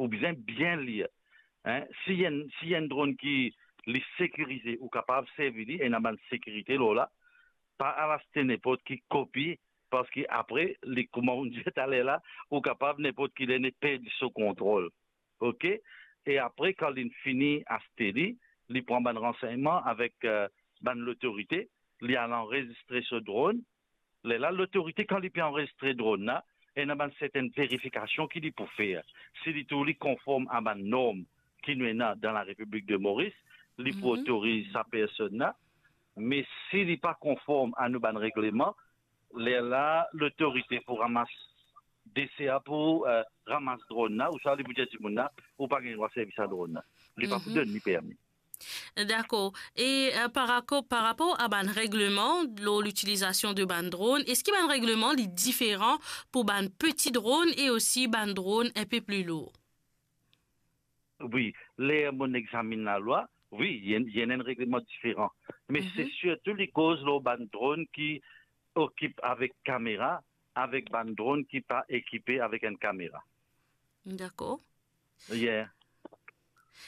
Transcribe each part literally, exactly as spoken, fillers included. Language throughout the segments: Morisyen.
ou bizin bien lir. Hein? Si enn, si enn dron ki li sekirize, ou kapav servi li, ena bann sekirite lor la, pa al aste nenport ki kopi, parski apre, li, kouma ou dir taler la, ou kapav nenport ki ler li perdi so kontrol. Ok? E apre, kan li fini aste li, li pran bann ransegnman avek, eh, bann lotorite, li al anrezistre so dron. Lerla, lotorite, kan li pe anrezistre dron la, ena bann sertenn verifikasion ki li pou fer. Si li trouv li konform a bann norm ki nou ena dan Larepiblik de Moris, li pou otoriz sa personn la. Me si li pa konform a nou bann regleman, lerla, lotorite pou ramas, DCA pou, eh, ramas dron la, ouswa li pou dir dimoun la, ou pa gagn drwa servi sa dron la. Li pa pou donn li permi. Dakor. E, eh, par rako-, par rapor a bann regleman lor litilizasion de bann dron, eski bann regleman li diferan pou bann peti dron e osi bann dron enpe pli lour? Wi, ler mo examinn lalwa, wi, li ena, li ena enn regleman diferan. Me se sirtou li koz lor bann dron ki ekip avek kamera, avek bann dron ki pa ekipe avek enn kamera. Dakor. Yeah.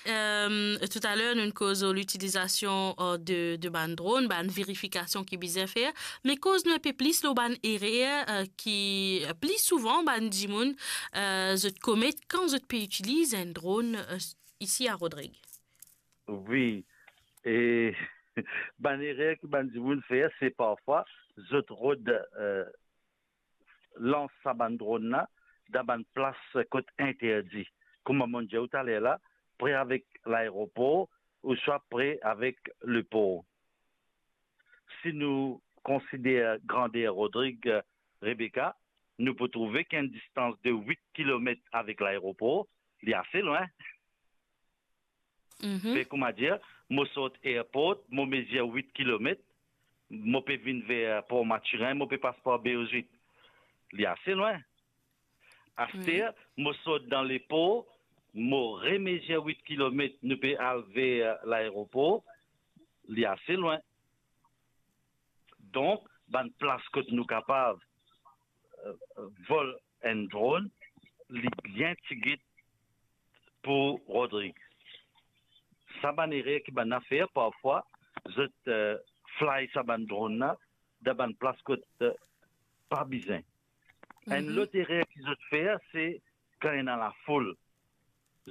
Eh, toutaler, nou koz lor litilizasion, eh, de, de bann dron, bann verifikasion ki bizin fer. Me koz nou enpe plis lor bann erer, eh, ki pli souvan bann dimoun, eh, zot komet kan zot pe itiliz enn dron, eh, isi a Rodrig. Wi. E bann erer ki bann dimoun fer, se parfwa zot rod, eh, lans sa bann dron la dan bann plas kot interdi. Kouma mo dir ou taler la, pre avek laeropor ouswa pre avek lepor. Si nou konsider grander Rodrig, eh, Rebecca, nou pou trouve ki enn distans de wit kilomet avek laeropor, li ase lwin. Mhm. Fer kouma dir, mo sort airport, mo mezir wit kilomet, mo pe vinn ver Port Mathurin, mo pe pas par Béozit. Li ase lwin. Aster, mo sort dan lepor, mo remezir wit kilomet, nou pe al ver laeropor, li ase lwin. Donk, bann plas kot nou kapav, eh, vol enn dron, li bien tigit pou Rodrig. Sa bann erer ki bann la fer, parfwa, zot, eh, fly sa bann dron la dan bann plas kot, eh, pa bizin. Enn lot erer ki zot fer, se kan ena lafoul.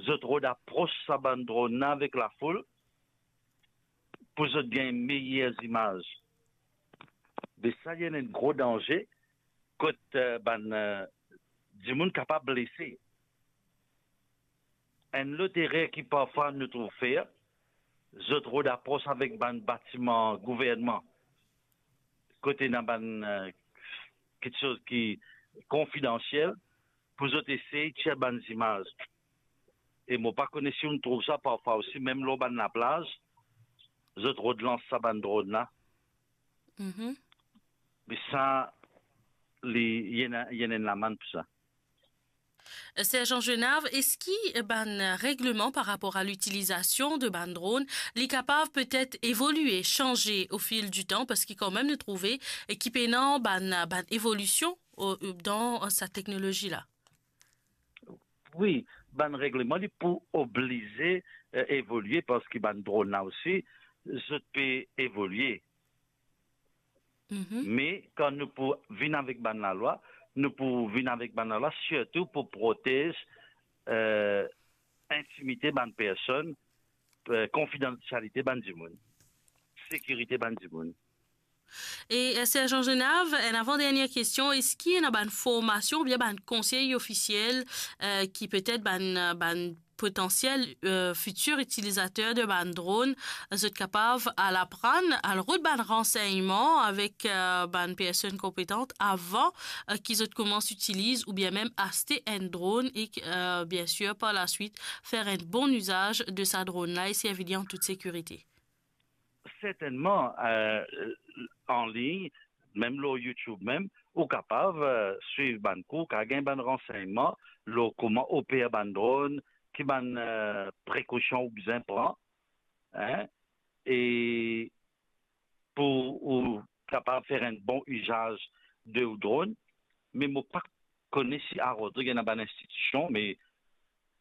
Zot rod apros sa bann dron la avek lafoul pou zot gagn meyer zimaz. Me sa, li ena enn gro danze kot, eh, bann, eh, dimoun kapav blese. Enn lot erer ki parfwa nou trouv fer, zot rod apros avek bann batiman gouvernman, kot ena bann, eh, kiksoz ki konfidansiel, pou zot esey tir bann zimaz. E mo pa kone si ou trouv sa parfwa osi, mem lor bann laplaz, zot rod lans sa bann dron la. Mhm. Me sa, li, li ena, li ena enn lamann pou sa. Sergent Genav, eski bann regleman par rapor a litilizasion de bann dron, li kapav petet evolie, sanze au fil du temps, parski kanmem nou trouve ki pena bann, bann evolision o, dan sa teknolozi la? Wi, bann regleman, li pou oblize, eh, evolie, parski bann dron la osi, zot pe evolie. Mhm. Me kan nou pou vinn avek bann lalwa, nou pou vinn avek bann lalwa sirtou pou protez, eh, intimite bann personn, eh, konfidansialite bann dimoun, sekirite bann dimoun. E, eh, Sergent Genav, enn avan dernie kestion, eski ena bann formasion oubien bann konsey ofisiel, eh, ki petet bann, bann potansiel, eh, fitir itilizater de bann dron, zot kapav al aprann, al rod bann ransegnman avek, eh, bann personn konpetan avan, eh, ki zot koumans itiliz oubien mem aste enn dron e, eh, biensir, par laswit, fer enn bon izaz de sa dron la e servi li an tout sekirite? Sertennman, eh, an lign, mem lor YouTube mem, ou kapav, eh, swiv bann kour, kapav gagn bann ransegnman lor kouma oper bann dron, ki bann, eh, prekosion ou bizin pran, hein, e pou ou kapav fer enn bon izaz de ou dron. Me mo pa kone si a Rodrig ena bann institision, me